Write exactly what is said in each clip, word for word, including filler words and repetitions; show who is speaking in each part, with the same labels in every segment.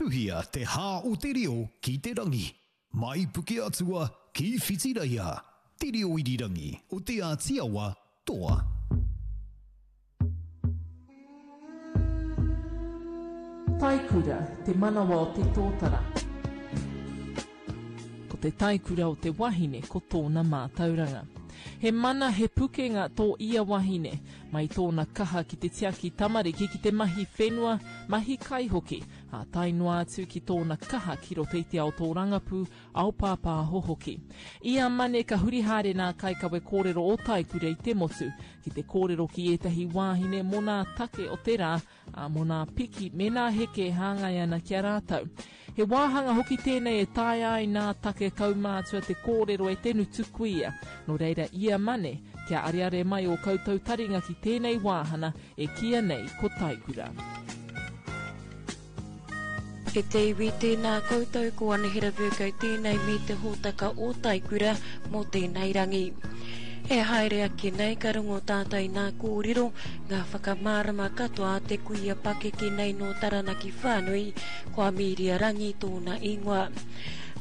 Speaker 1: Tuhia te hā o te reo ki te rangi. Mai Pukeatua ki Whitireia. Te reo irirangi o Te Āti Awa toa.
Speaker 2: Taikura, te manawa o te tōtara. Ko te taikura o te wahine ko tōna mātauranga. He mana, he pukenga tō ia wahine, mai tōna kaha ki te tiaki tamariki ki te mahi whenua, mahi kai hoki, ā tae noa atu ki tōna kaha ki roto i te ao tōrangapū, ao pāpāho hoki. Ia Mane ka huri haere nā kaikawe kōrero o Taikura i te motu, ki te kōrero ki ētahi wāhine mō nā take o te rā, ā, mō nā piki me nā heke e hāngai ana ki a rātou. He wāhanga hoki tēnei e taea ai nā take kaumātua te kōrero e te ngutu kuia. Nō reira ia Mane, kia areare mai ō koutou taringa ki tēnei wāhana e kīia nei ko Taikura.
Speaker 3: E te iwi, tēnā koutou, ko Anahera Vercoe tēnei me te hōtaka o Taikura mō tēnei rangi. E haere ake nei ka rongo tātou i nā kōrero, ngā whakamārama katoa a te kuia pakeke nei nō Taranaki whānui, ko Amiria Rangi tōna ingoa.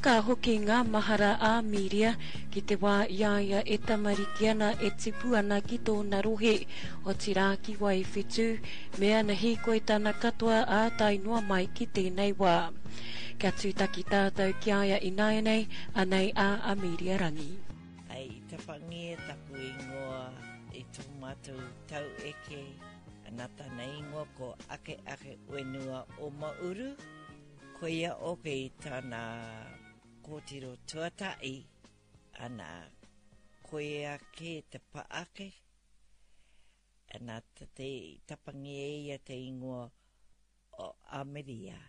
Speaker 3: Ka hoki ngā mahara a Amiria ki te wā i a ia e tamariki ana e tipu ana ki tōna rohe, otirā ki Waiwhetū, me ana hīkoitana katoa ā tae noa mai ki tēnei wā. Kia tūtaki tātou ki a ia ināianei, anei a Amiria Rangi.
Speaker 4: Ai, i tapangia taku ingoa i tō mātou tau eke, ana tana ingoa ko Ake Ake Wenua o Mauru. Koia oke i tana kōtiro tuatahi, ana koia ke te paake, ana te, te tapangia e ia te ingoa o Amiria.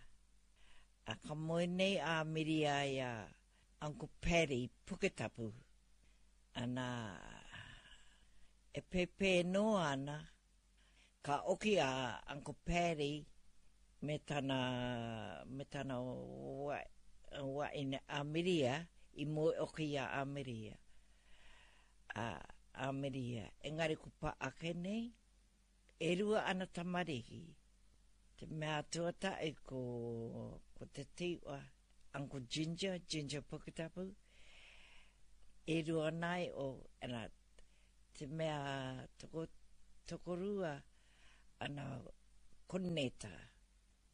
Speaker 4: A ka moe nei a Amiria i a Uncle Paddy Puketapu. Ana e pēpē noa ana, ka oki a Uncle Paddy me tana, me tana wa, waine Amiria, i moe oki i a Amiria. A Amiria, engari ko pa ake nei, e rua ana tamariki. Te mea tuatahi ko, ko te tiwa, Uncle Ginger, Ginger Puketapu, e rua nai o, ana, te mea toko, tokorua, ana, ko Neta.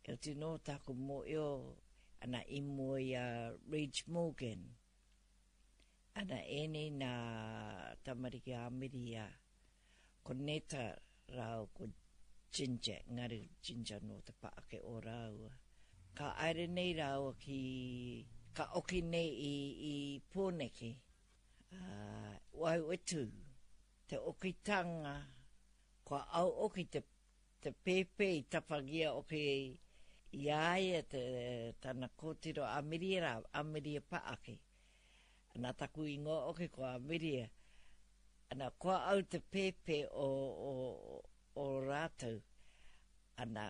Speaker 4: E oti nō tāku mōio, ana i mua i a Reg Morgan. Ana ēnei nā tamariki a Amiria, ko Neta rāua ko Ginger, engari Ginger nō te paake o rāua. Ka aere nei rāua ki, ka oki nei i, i Pōneke, uh, Waiwhetū, te okitanga, kua au oki te, te pēpē i tapangia oki i a ia te, tana kōtiro Amiria rā, Amiria Paake. Ana taku ingoa oki ko Amiria. Ana kua au te pēpē o, o, o rātou. Ana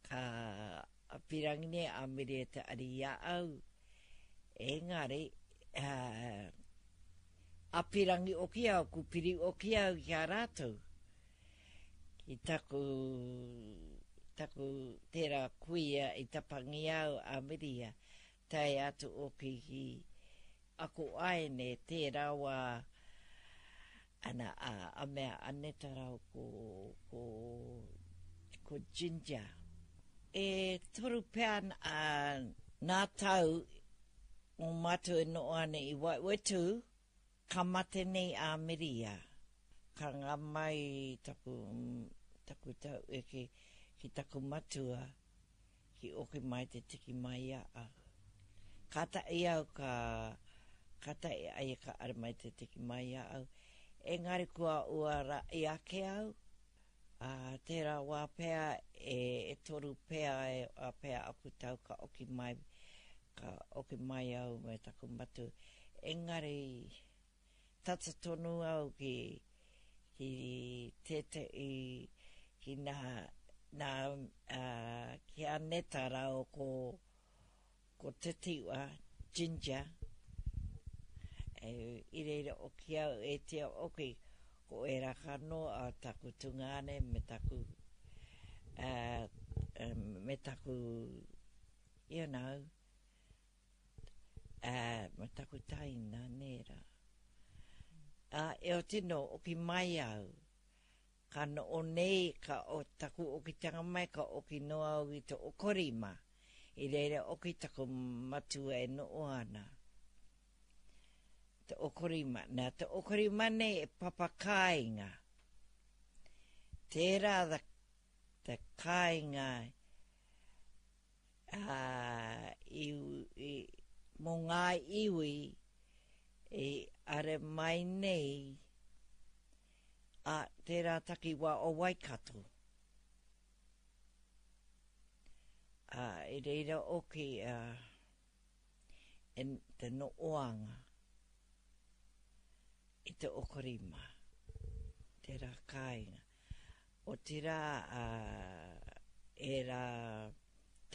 Speaker 4: ka pirangi nei Amiria te ari i a au. Engari, uh, apirangi oki au, kupiri oki au ki a rātou. Ki taku, taku tērā kuia i tapangi au Amiria, tae atu oki ki ako aene tērā wā ana a, a mea a Neta rau ko, ko, ko Ginger. E toru pea a, nā tau o mātou e noho ana i Waiwhetū, ka mate nei a Amiria. Ka ngā mai taku, taku tau eke ki taku matua, ki oki mai te tiki mai a au. Ka tahi au ka, ka tahi ai ka are mai te tiki mai a au. Engari kua ua ra i ake au, a, tērā wā pea e, e toru pea e, a pea aku tau ka oki mai, ka oki mai au me taku matua. Engari tata tonu au ki, ki tētehi, ki nā, nā, uh, ki a Neta rāua ko, ko Te Tiwa, Ginger, e, i reira oki au, e tia oki, ko e raka noa a taku tungāne me taku, uh, me taku You know, uh, ma taku taina, nera. Uh, e o tino, oki mai au. Ka no o nei, ka o taku okitanga mai, ka oki noa au i te okorima. I reira oki taku matua e no o ana. Te okorima. Nā, te okorima nei e papakāinga. Tērā the, te kāinga uh, i, i, mō ngā iwi i are mai nei a tērā takiwā o Waikato. A, i reira oki uh, en, te no oanga i te okorima, tērā kāinga. O tērā uh, e rā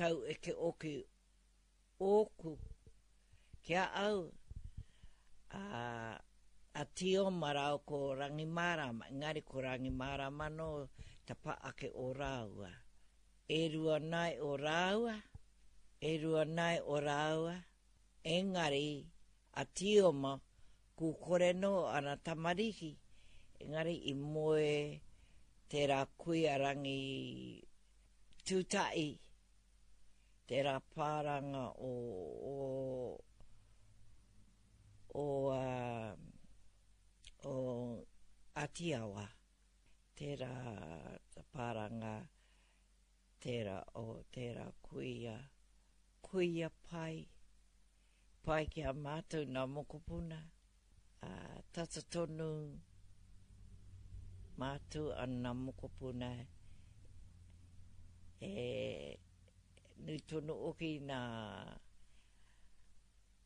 Speaker 4: tau eke oki ōku kia au a, a Tio Marau ko Rangimārama, engari ko Rangimārama no ta pa ake o rāua. E rua nai o rāua, e rua nai o rāua, engari a Tioma ku kore no ana tamariki, engari i moe tērā kuia rangi tūtai, tērā pāranga o, o, o, uh, o Atiawa, tērā pāranga, tērā o tērā kuia, kuia pai, pai ki a mātou nā mokopuna, uh, tata tonu mātou ana mokopuna e nui tonu oki nā,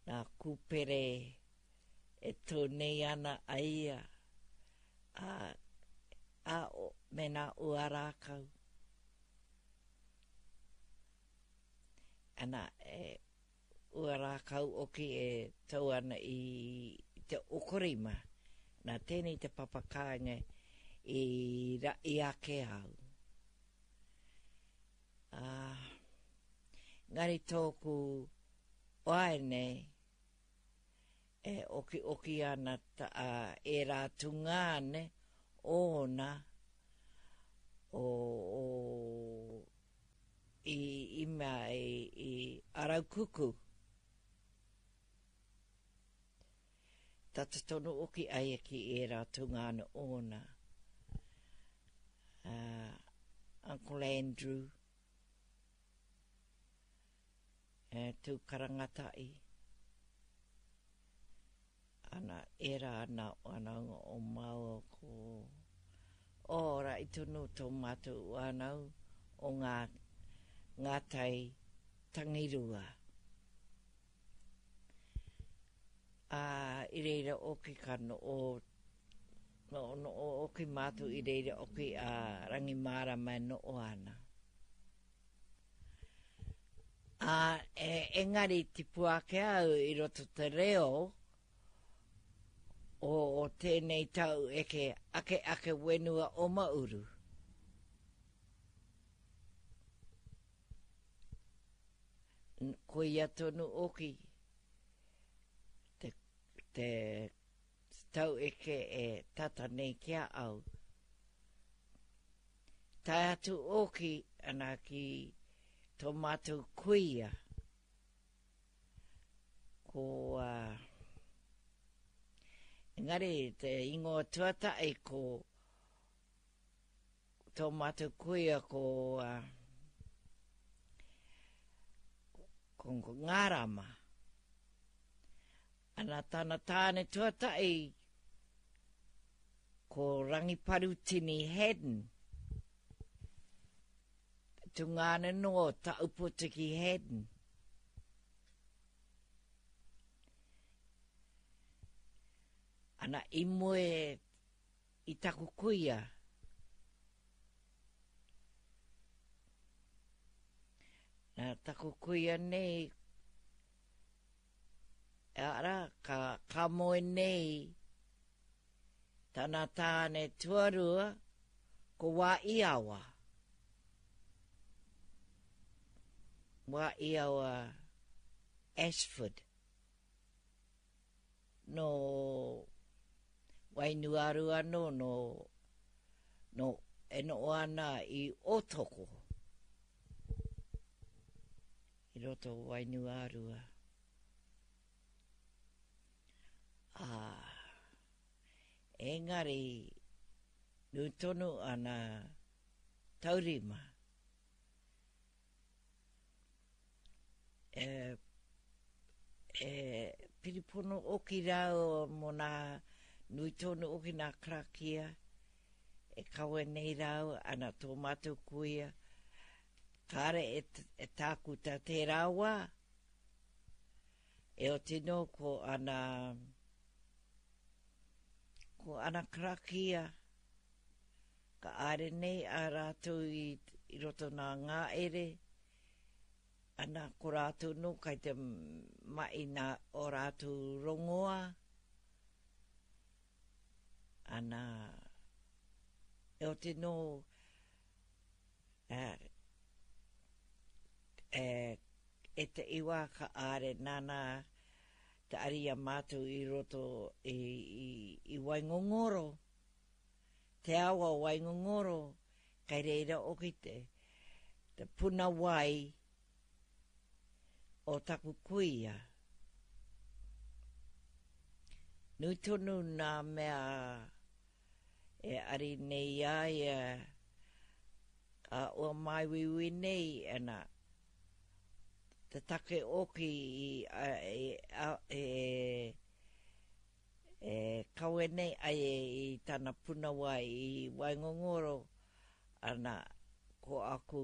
Speaker 4: nā kūpere e tō nei ana a ia a, a o, me nā ua rākau. Ana e ua rākau oki e tau ana i te okorima. Nā tēnei te papakāinga i rai ake au. Ah, ngari tōku waene e oki oki ana ta, uh, e rā tungāne ōna o, o i, i mea i, i Araukuku. Tata tonu oki ai ki e rā tungāne ōna. Uh, Uncle Andrew, e tū karangatai. Ana, era ana wanaunga o māua ko o ra i tonu tō mātou whanau o ngā, ngā tai tangirua. A, i reira oki ka no o, no, no o oki mātou i reira oki a Rangimārama e no o ana. A, e, engari tipu ake au i roto te reo o, o tēnei tau eke ake ake wenua o Mauru. Koia tonu oki te, te tau eke e tata nei kia au. Tae atu oki ana ki tō mātou kuia. Ko, uh, engari te ingoa tuatahi ko tō mātou kuia ko, uh, ko, ko Ngārama. Ana tana tāne tuatahi ko Rangiparutini Haddon. Tungāne no Taupotiki Haddon. Ana i moe i taku kuia. Nā taku kuia nei, ara, ka, ka moe nei tana tāne tuarua ko wā iawa. Wā Iawa Ashford. No Wainuiārua anō, no, no, e noho ana i Ōtoko, i roto o Wainuiārua. Ā, engari, nui tonu ana taurima. E, e piripono oki rāua mō nā nui tonu oki nā karakia e kawe nei rāua ana tō mātou kuia kāre e, e tākuta tērā wā e oti nō ko ana ko ana karakia ka āre nei a rātou i, i roto nā ngāere ana ko rātou nō kai te mahi nā o rātou rongoa ana e oti nō e, e, e te iwa ka āre nāna te ari a mātou i roto i, i, i Waingongoro, te awa o Waingongoro, kai reira oki te, te puna wai o taku kuia. Nui tonu nā mea e ari nei a ia a ua māuiui nei ana te take oki i, e, e, e kawe nei ai e i tana puna wai i Waingongoro ana ko aku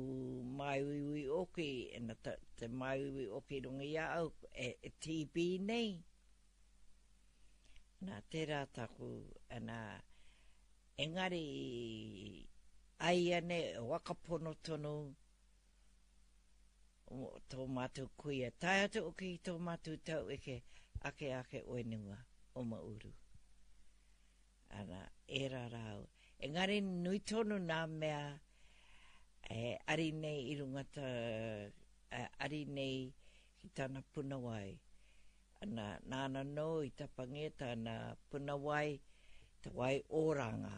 Speaker 4: māuiui oki ana te, te māuiui oki runga i a au e, e T B nei. Nā tērā taku, ana, engari aiane wakapono tonu tō mātou kuia. Tae atu oki tō mātou tau eke ake ake oenua o Mauru. Ana, era rau. Engari nui tonu nā mea e ari nei i runga ta, e, ari nei ki tana puna wai. Ana, nāna nō i tapange tana puna wai, te wai oranga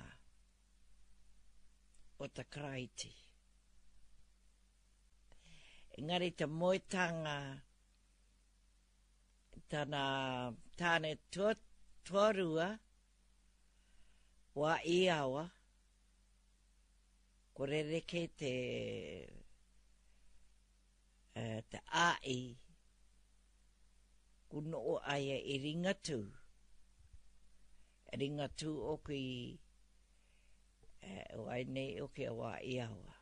Speaker 4: o te Karaiti. Engari te moetanga tana tāne tua, tuarua, wā iawa, ko rereke te, te ai, ku noo aia i Ringatū. Ringatū oki, e, wai nei oki a wā iawa.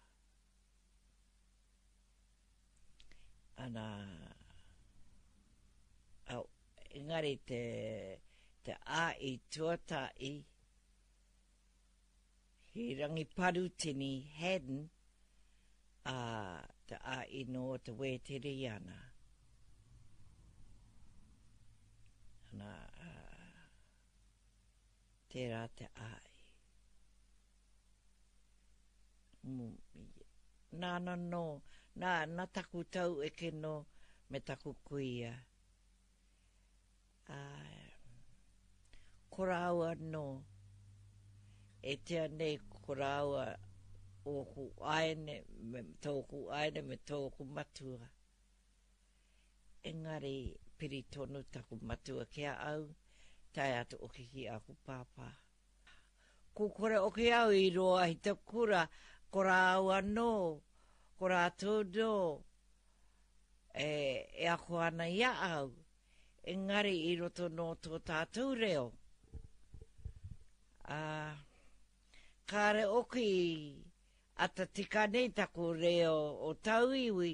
Speaker 4: Ana, au, engari te, te ai tuatai, ki Rangiparutini Haddon, a te ai no te Wēteriana. Ana, uh, tērā te ai. Nāna nō, nā, nā taku tau eke nō me taku kuia. Uh, ko rāua nō, e tea nei ko rāua ōku aene, me tōku aene me tōku matua. Engari piri tonu taku matua ki a au, tae atu oki ki aku pāpā. Ko kore oki au i roa i te kura, ko rāua nō, ko rātou nō, e, e ako ana i a au, engari i roto nō tō tātou reo. Ā, kāre oki ata tika nei taku reo o tauiwi,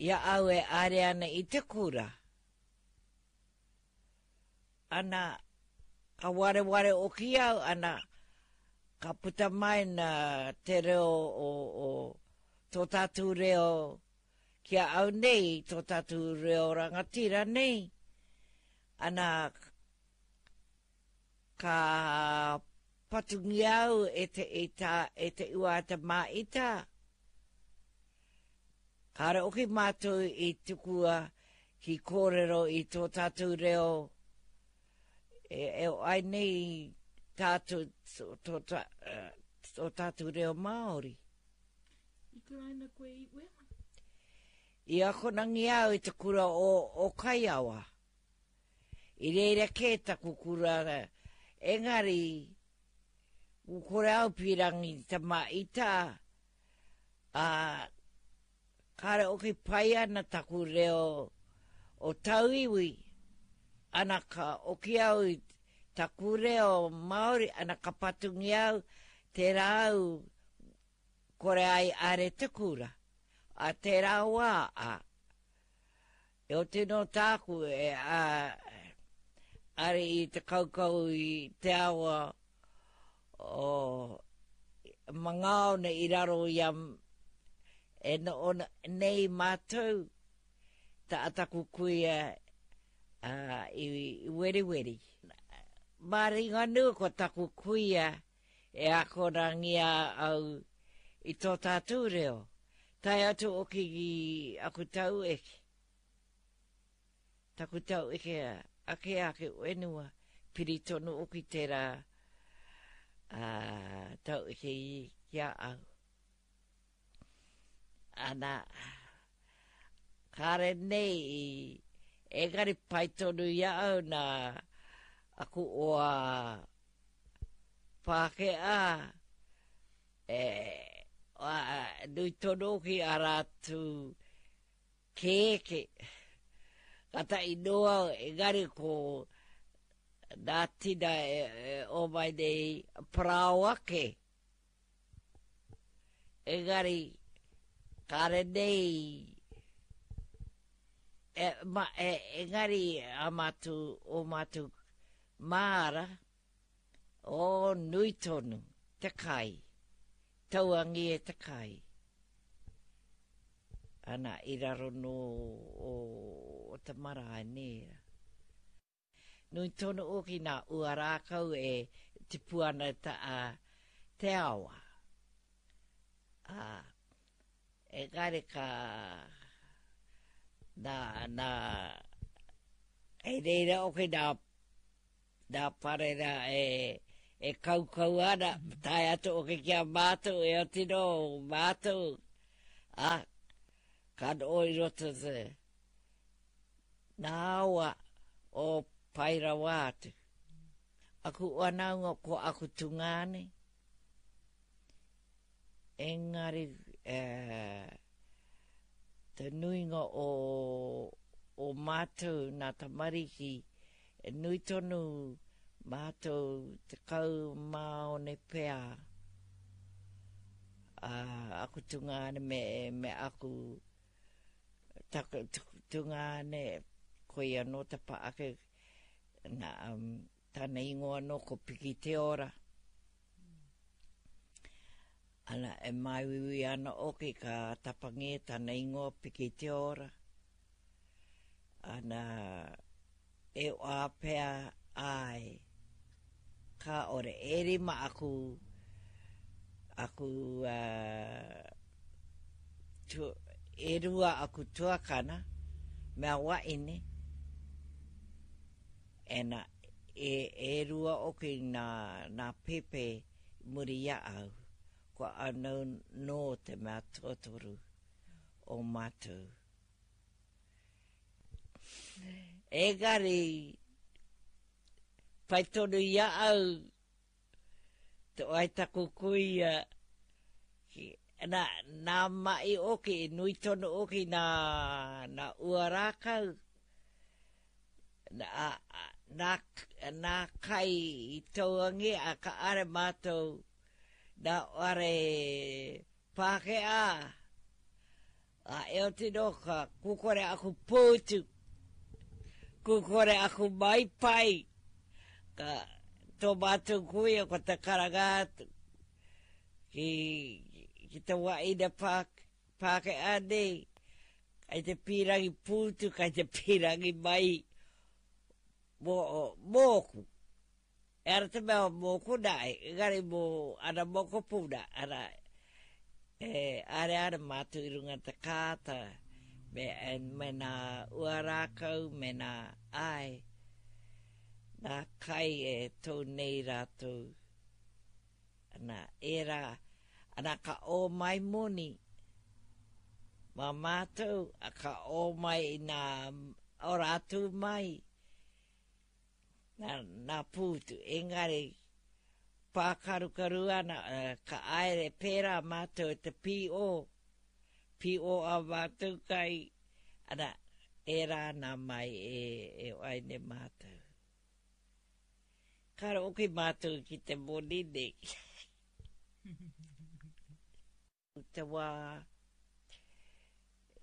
Speaker 4: i a au e are ana i te kura. Ana, ka wareware oki au, ana, ka puta mai na te reo o, o tō tātou reo ki a au nei, tō tātou reo rangatira nei. Ana, ka patungia au e te, e ta, e te ua te maita. Kāre oki mātou i tukua ki kōrero i tō tātou reo e, e ai nei tātou, tō, tō, tō tātou reo Māori.
Speaker 2: I kuraina koe i wea?
Speaker 4: I akonangi au i te kura o, o Kaiawa. I reira kē taku kura, engari, u kore au pīrangi ta maita, a kāre oki pai ana taku reo o tauiwi, ana ka oki au i taku reo Māori, ana ka patungi au, tērā au kore ai are te kura. A tērā wā, a, e o tino tāku e a, are i te kaukau i te awa o Mangaone i raro i a e no ona nei mātou ta ataku kuia a, i, i weriweri. Māringa nui ko taku kuia e akorangia au i tō tātou reo. Tae atu oki ki aku tau eke. Taku tau eke ake ake wenua, piri tonu oki tērā a, tau eke i ki a au. Ana, kāre nei i, engari pai tonu i a au nā aku oa Pākehā, e, a, nui tonu oki a rātou kēke. Ka tai noa, engari ko nā tina e, e o mai nei parao ake. Engari, kāre nei, e, ma, e, engari a mātou, o mātou māra, o nui tonu, te kai, tauangi e te kai. Ana, i raro no o, o te marae nēra. Nui tonu oki nā ua rākau e tipu ana ta, a, te awa. A, engari ka nā, nā, e reira oki nā, nā parera e, e kaukau ana, tae atu oki ki a mātou, e otino mātou, a, ka no i roto te nā awa o pai rawa atu. Aku wanaunga ko aku tungāne, engari e, te nuinga o, o mātou nā tamariki, e nui tonu mātou te kau māone pea a, aku tungāne me, me aku taku, tungāne, koia no te pa ake, nā, um, tāna ingoa no ko Piki Te Ora. Ana, e māuiui ana oki ka tapangi tāna ingoa Piki Te Ora. Ana, e wāpea ai, ka ore e rima aku, aku, uh, tu, e rua aku tuakana, mea waine, ena, e, e rua oki nā, nā pepe muri ia au, kua anau no te mea tuatoru o mātou. Engari, pai tonu ia au, te oai taku kuia, ki, nā, nā mai oki, nui tonu oki nā, nā ua rākau, nā, nā, nā kai i tauangi, a ka are mātou, nā are Pākehā, a e o tino ka kukore aku pōtu, kukore aku mai pai, ka tō mātou kuia ko te karanga atu, ki, ki te waina pā, Pākehā nei, kai te pīrangi pūtu, kai te pīrangi mai mō, mōku. E ara te mea mōku nā, engari mō ana mokopuna, ana, E are are mātou i runga te kāta, me, me nā ua rākau, me nā ai, nā kai e tō nei rātou. Ana, era, ana ka o mai moni, mā mātou, a ka o mai i nā o rātou mai, nā, nā pūtu, engari, pākarukaru ana, ka aere pērā mātou e te P O, P O a mātou kai, ana, e rā nā mai e, e aine mātou. Kāre oki mātou ki te moni nei. Te wā,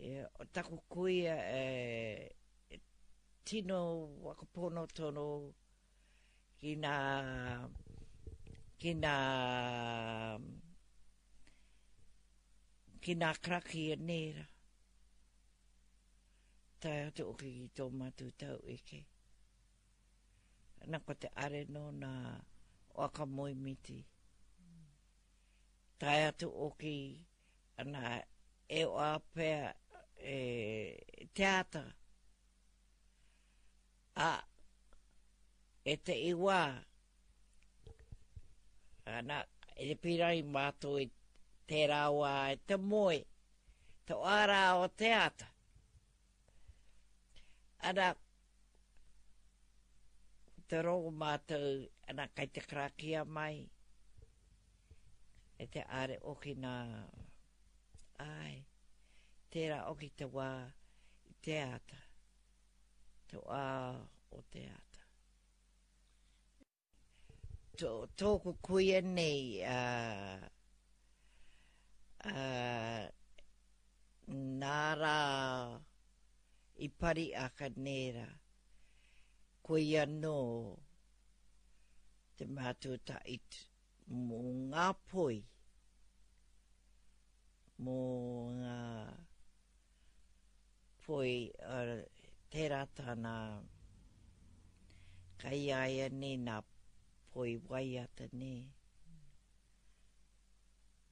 Speaker 4: e, o taku kuia e, e tino wakapono tono ki nā, ki nā, ki nā karakia nēra. Tae atu oki ki tō mātou tau eke. Ana ko te are no nā waka moemiti. Tae atu oki ana e o apea e te ata. A e te iwa ana e te pirai mātou i tērā wā e te moe, te ārā o te ata. Ana, te rongo mātou, ana kai te karakia mai, e te are oki nā, ai, tērā oki te wā i te ata, te wā o te ata. Tō, tōku kuia nei, uh, uh, nā rā i pari aka nēra, koia nō te mātua tait mō ngā poi, mō ngā poi, uh, tērā tāna kai aia nei nā poi waiata nei.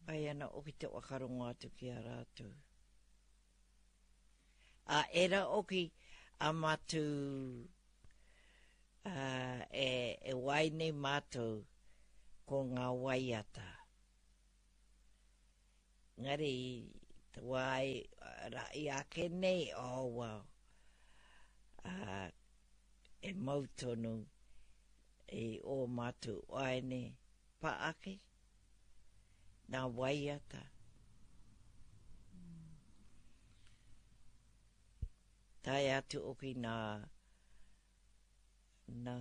Speaker 4: Pai ana oki te wakarongo atu ki a rātou. A era oki a mātou uh, e, e wai nei mātou ko ngā waiata. Ngari te wai ra i ake nei, oh wow. Uh, e mau tonu i o mātou waene pa ake, nā waiata. Tae atu oki nā, nā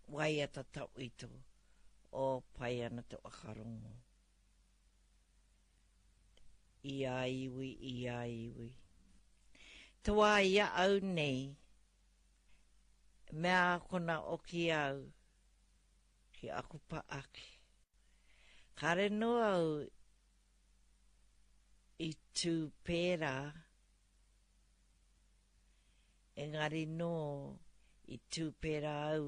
Speaker 4: waiata tauito o pai ana te wakarongo. I a iwi, i a iwi. Te wā i a au nei, mea kona oki au ki aku pa ake. Kāre no au i tū pērā, engari no i tū pērā au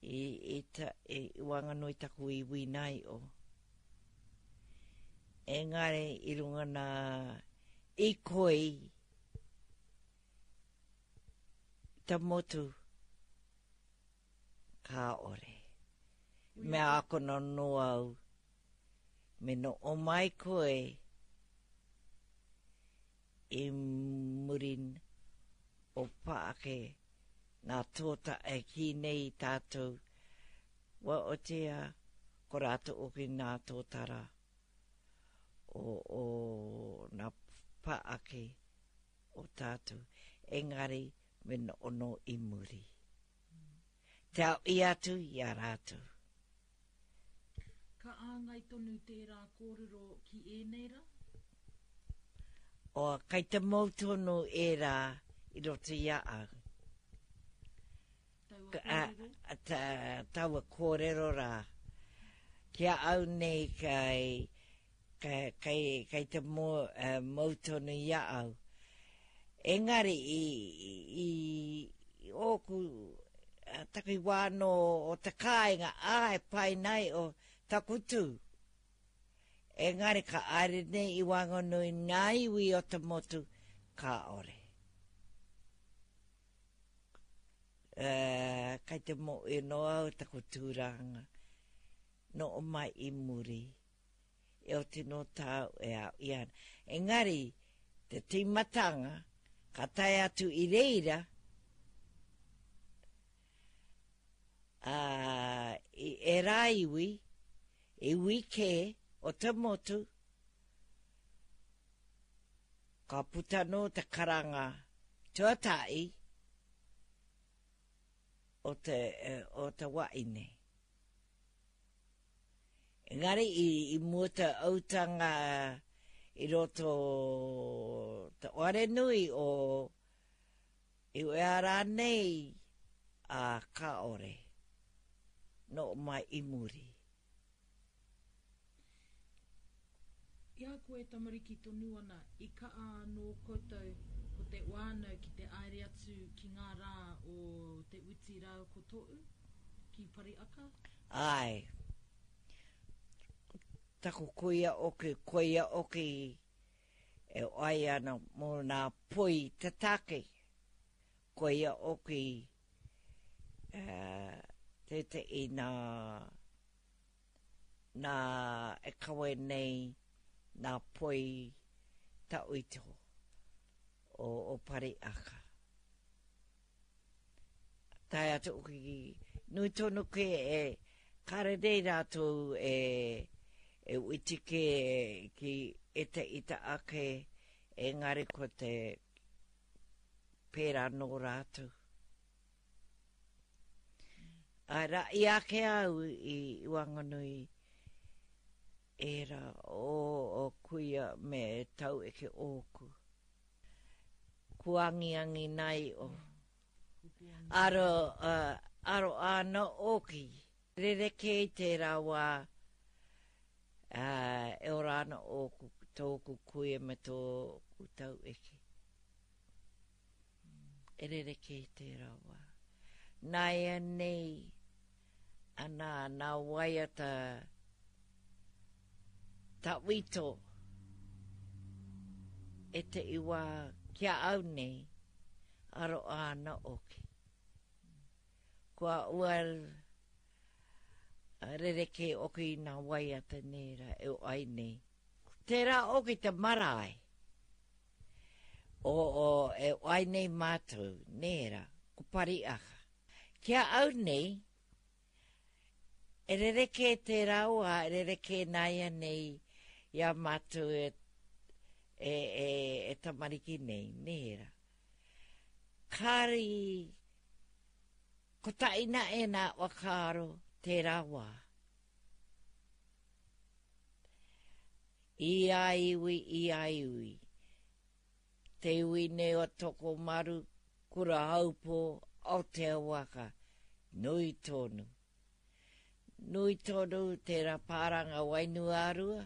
Speaker 4: i, i, ta, i wanganui taku iwi nai o. Engari i runga nā i koi ta motu ka ore. Mea akona no au, me no o mai koe i murin o paake nā tōta e ki nei tātou, wa o tea ko rātou oki nā tōtara o, o nā paake o tātou. Engari me no ono i muri. Te au i atu i a rātou.
Speaker 2: Ka āngai tonu tērā kōrero ki ēnei rā?
Speaker 4: O, kai te mau tonu ērā i roto i a au.
Speaker 2: Taua kōrero?
Speaker 4: A, ta, taua kōrero rā. Ki a au nei kai, kai, kai, kai te mo, uh, mau tonu i a au. Engari i, i, i ōku taki wāno o te kāinga, ai pai nei o taku tū. Engari ka aere nei i waenganui ngā iwi o te motu, kāore. Uh, kai te moe no au taku tūranga, no o mai i muri, e o tino tāu e au i ana. Engari, te tīmatanga, ka tae atu i reira, uh, i era iwi, iwi kē o te motu, ka puta no te karanga tuatahi o te, o te waine. Engari i, i mua te autanga i roto te oarenui o i ea rānei a kāore no mai i muri.
Speaker 5: I a koe tamariki tonu ana, i kaa anō koutou ko te wānau ki te aere atu ki ngā rā o te uti rāu ko tōu, ki Pariaka?
Speaker 4: Ai. Taku kuia oki, kuia oki e ai ana mō nā poi te take. Kuia oki uh, te te i nā, nā e kawe nei nā poi tauito o, o Pariaka. Tae atu ki nui tonu ke e kare nei rātou e e uitike ki e te ita ake engari ko te pērā nō rātou. Ai rā, i ake au i Wanganui era o, o kuia me tau eke ōku. Kuangiangi nei o. Aro, uh, aro āna oki. Rereke i tērā wā uh, e ora ana ōku, tōku kuia me tōku tau eke. E rereke i tērā wā. Nāia nei, ana, nā waiata tawito e te iwa kia au nei, aro āna oki. Kua ua rereke oki nā waiata nera e o ai nei. Tērā oki te marae o, o e o ai nei mātou, nera, ko Pariaka. Kia au nei, e rereke tērā oa, e rereke nāia nei ia mātou e, e, e, e tamariki nei, nera. Kāri, ko taina e nā whakaaro tērā wā. I a iwi, i a iwi. Te iwi nei o Tokomaru, Kura Haupo, Aotea Waka, nui tonu. Nui tonu tērā pāranga Wainuiārua,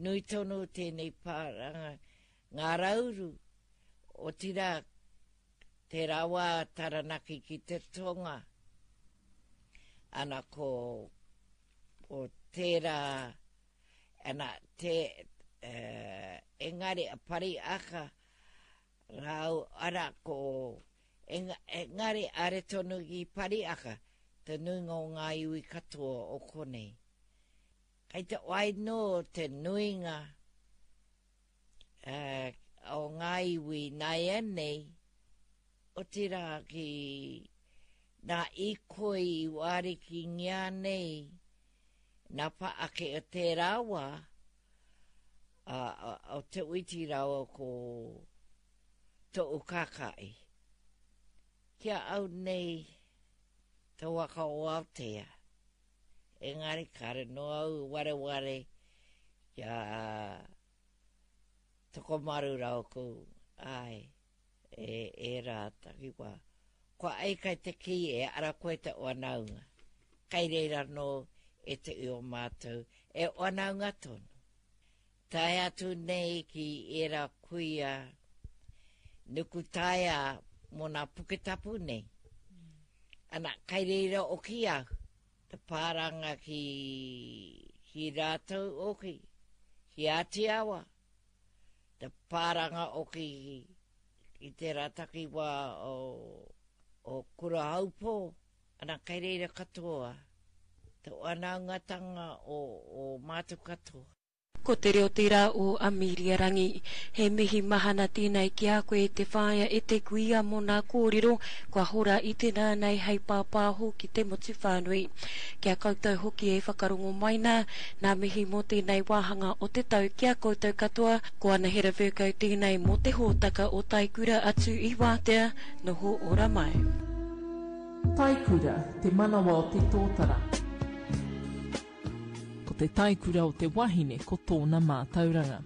Speaker 4: nui tonu tēnei pāranga Ngā Rauru, otirā tērā wā Taranaki ki te tonga. Ana ko, ko tērā, ana te, uh, engari a Pariaka, rāu, ana ko, enga, engari are tonu ki Pariaka, te nuinga o ngā iwi katoa o konei. Kei te wai nō te nuinga uh, o ngā iwi nāia nei, otirā ki nā ikoi i wariki ngia nei, nā pa ake o tērā wā, a, a, o te uiti rāua ko to'u kākai. Kia au nei te waka o Aotea. Engari kare no au wareware kia Tokomaru rau ko ai e, e rā takiwā. Kua ai kai te ki e ara koe te wanaunga. Kai reira no e te i o mātou e wanaunga tonu. Tae atu nei ki era kuia nuku taea mō nā puketapu nei. Ana, kai reira oki au, te pāranga ki, ki rātou oki, Ki Ātiawa, te pāranga o ki, ki tērā takiwā o, o Kurahaupō, ana kei reira katoa, te whanaungatanga o, o mātou katoa.
Speaker 3: Ko te reo tērā o Amelia Rangi. He mihi mahana tēnei ki a koe e te whaea e te kuia mō nā kōrero kua hora i te rā nei hei pāpāho ki te motu whānui. Ki a koutou hoki e whakarongo mai nā, nā mihi mō tēnei wāhanga o te tau ki a koutou katoa, ko Anahera Vercoe tēnei mō te hōtaka o Taikura atu i Wātea, noho ora mai.
Speaker 2: Taikura, te manawa o te tōtara. Ko te taikura o te wahine ko tōna mātauranga.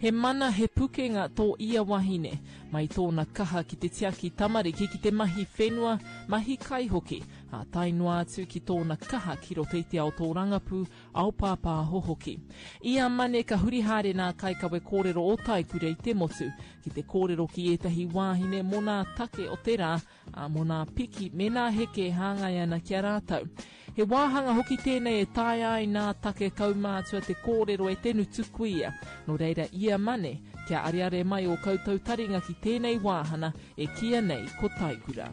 Speaker 2: He mana, he pukenga tō ia wahine, mai tōna kaha ki te tiaki tamariki ki te mahi whenua, mahi kai hoki, ā tae noa atu ki tōna kaha ki roto i te ao tōrangapū, ao pāpāho hoki. I a Mane ka huri haere nā kaikawe kōrero o Taikura i te motu, ki te kōrero ki ētahi wāhine mō nā take o te rā, ā, mō nā piki me nā heke e hāngai ana ki a rātou. He wāhanga hoki tēnei e taea ai nā take kaumātua te kōrero e te ngutu kuia. Nō reira ia Mane, kia areare mai ō koutou taringa ki tēnei wāhana e kīia nei ko Taikura.